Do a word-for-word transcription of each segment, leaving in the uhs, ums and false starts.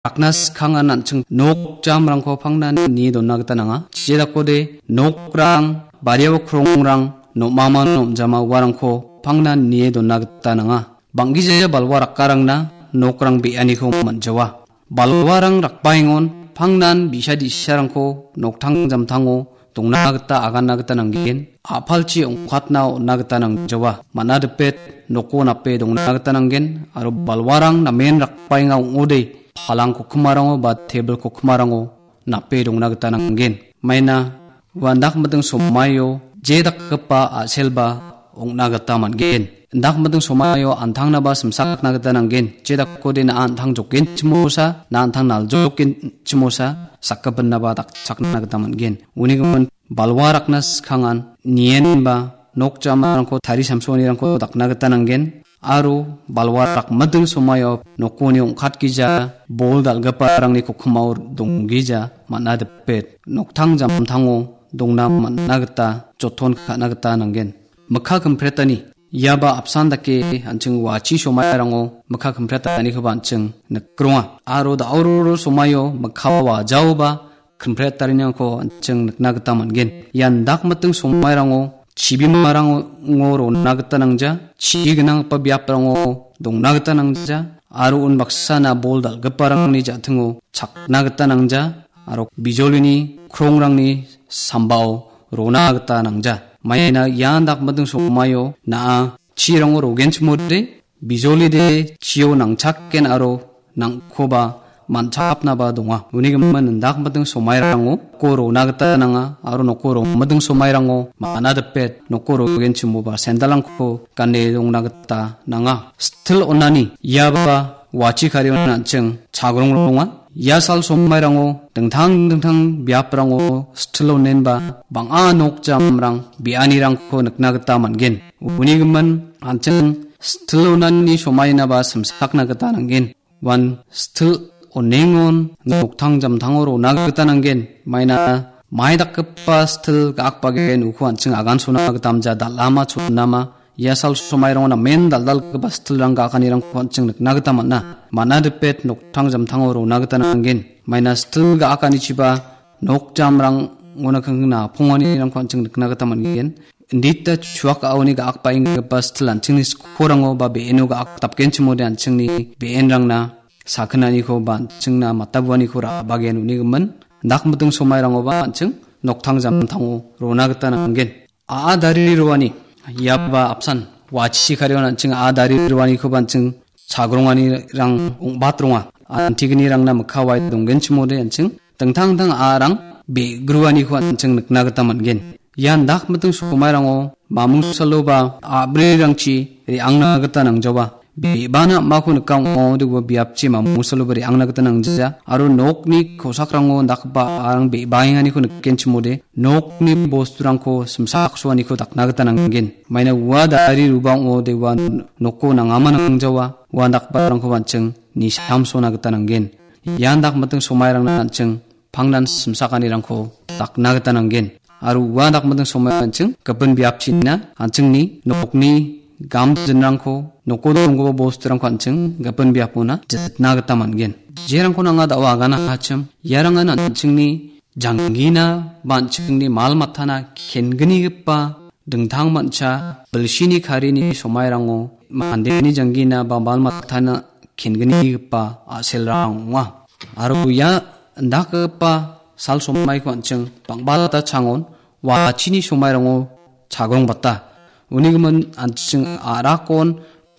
rakna skangan an·ching nok jamrangko pangnan nie dona gita nanga. Jedakode nokrang, bariao krongrang, nom·aman nom·jama uarangko pangnan nie dona gita nanga. Bang·gija balwa rakkarangna nokrang be·aniko man·jawa. Balwarang rakbaengon pangnan bi·sa di·sarangko noktang jamtango dongna gita aganna gita nanggen. A·palchi ong·katna on·na gita nangjawa. Man·a dipet noko nape dongna gita nanggen. Aro balwarang namen rakbaenga ong·ode palang kokkimarango ba tebil kokkimarango nape dongna gita nanggen. Maina ua indak miting somaio je dakgipa a·selba ong·na gita man·gen. Indak miting somaio antangnaba simsakna gita nanggen. Je dakode na·a antang jokgenchimosa, na antang naljokgenchimosa, sakgipinaba dakchakna gita man·gen. Uni gimin balwa rakna skangan nienba nok jamarangko tari samsonirangko dakna gita nanggen. Aro balwa rakmiting somaio nokoni ong·katgija bol dal·giparangni kokkimao donggija man·a dipet noktang jamtango dongna man·na gita joton ka·na gita nanggen. Mikka kimpretani iaba apsan dake an·ching wachi somairango mikka kimprettanikoba an·ching nikronga. Aro da·ororo somaio mikka wajaoba kimpret tariniko an·ching nikna gita man·gen. Ian dakmiting somairango chibimarango rona gita nangja, chi gnanggipa biaprango dongna gita nangja, aro unbaksana bol dal·giparangni ja·tingo chakna gita nangja, aro bijolini krongrangni sambao rona gita nangja. Maina ian dakmiting somaio na·a chirango rogenchimode, bijolide chio nangchakken aro nangkoba man·chakapnaba donga. Uni gimin indakmiting somairango noko rona gita nanga aro noko romiting somairango man·a dipet noko rogenchimoba sendalrangko gane rongna gita nanga. Stil onani iaba wachi karion an·ching chagrong ronga. Ia sal somairango dingtang dingtang biaprango stil onenba bang·a nok jamrang be·anirangko nikna gita man·gen. Uni gimin an·ching stil onani somainaba simsakna gita nanggen. Uan stil onengon noktang jamtango rona gita nanggen. Maina mai dakgipa stil ga·akbagen uko an·ching agan sona gita amja dal·ama chonama. Ia sal somairango namen dal·dalgipa stilrang ga·akanirangko an·ching nikna gita man·a. Man·a dipet noktang jamtango rona gita nanggen. Maina stil ga·akanichiba nok jamrangona kangna ponganirangko an·ching nikna gita man·gen. Indita chuak a·oni ga·akbaenggipa stil an·chingni skorango ba be·eno ga·ak dapgenchimode an·chingni be·enrangna sakinaniko ba an·chingna matabuaniko ra·bagen uni gimin. Dakmiting somairangoba an·ching noktang jamtango rona gita nanggen. A·a dari roani, iaba apsan, wachi karion an·ching a·a dari roanikoba an·ching chagronganirang ong·bat ronga. Antignirangna mikka wae donggenchimode an·ching dingtang dingtang a·arang be·gruaniko an·ching nikna gita man·gen. Ian dakmiting somairango mamungsaloba a·brirangchi re·angna gita nangjawa. Be·bana am·ako nika ong·ode ua biapchi mamungsaloba re·angna gita nangja. Aro nokni kosakrango dakgipa a·arang be·baenganiko nikgenchimode nokni bosturangko simsaksoaniko dakna gita nanggen. Maina ua dari ruba ong·ode ua noko nangama nangjawa. Ua dakgiparangkoba an·ching nisamsona gita nanggen. Ian dakmiting somairangna an·ching pangnan simsakanirangko dakna gita nanggen. Aro ua dakmiting somairanching gipin biapchina an·chingni nokni gamjinrangko, noko donggipa bosturangko an·ching gipin biapona jitna gita man·gen. Jerangko nanga da·o agana hachim, iarangan an·chingni janggina ba an·chingni mal matana kengnigipa dingtang mancha bilsini karini somairango mandeni janggina ba mal matana kengnigipa a·selrang ong·a. Aro ia indakgipa sal somaiko an·ching bang·bata changon wachini somairango chagrongbata. Uni gimin an·ching a·rakon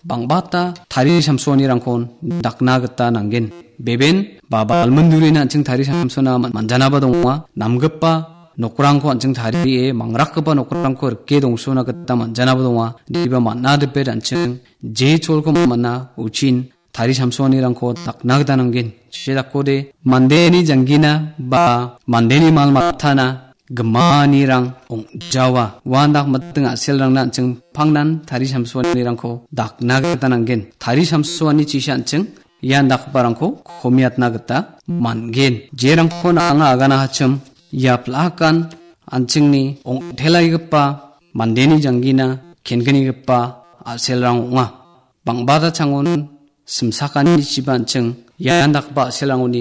bang·bata tari samsoanirangkon dakna gita nanggen. Beben ba balmindurina an·ching tari samsona man-, manjanaba donga. Namgipa nokrangko an·ching tarie mangrakgipa nokrangko rike dongsona gita manjanaba donga. Diba man·a dipet an·ching je cholko man·a uchin tari samsoanirangko dakna gita nanggen. Jedakode mandeni janggina ba mandeni mal matana gimanirang ong·jawa. Uan dak miting a·selrangna an·ching pangnan tari samsoanirangko dakna gita nanggen. Tari samsoani chisa an·ching ian dakgiparangko komiatna gita man·gen. Jerangko anga agana hachim ia plakan an·chingni ong·telaigipa mandeni janggina kengnigipa a·selrang ong·a. Bang·bata changon simsakanichiba an·ching Ian dakgipa a·selrangoni